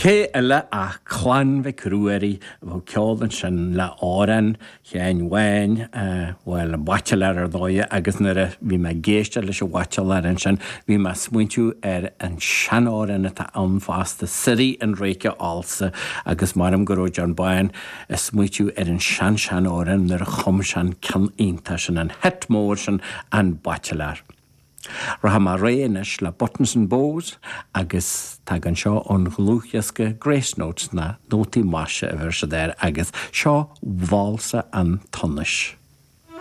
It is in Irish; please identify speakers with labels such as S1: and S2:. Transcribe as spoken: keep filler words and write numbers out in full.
S1: Cé eile ach Clann Mhic Ruairí a bheadh ceol ansin le amhrán Sheáin Bháin, bhuel, an Baitsiléir ar dóigh agus nuair a bhí mé ag éisteacht leis an Bhaitsiléir ansin bhí mé ag smaointiú ar an seanamhrán atá ann fosta, Suirí an Réice Fhalsa agus maram go raibh John Bán ag smaointiú ar an sean-seanamhrán nuair a chum sé an ceann iontach sin an hit mór sin an Baitsiléir. Rachaidh mé ar aghaidh anois le Buttons and Bows agus tagann seo ón dlúthdhiosca Grace Notes na nótaí maise a bheir siad air agus seo válsa an tsonais.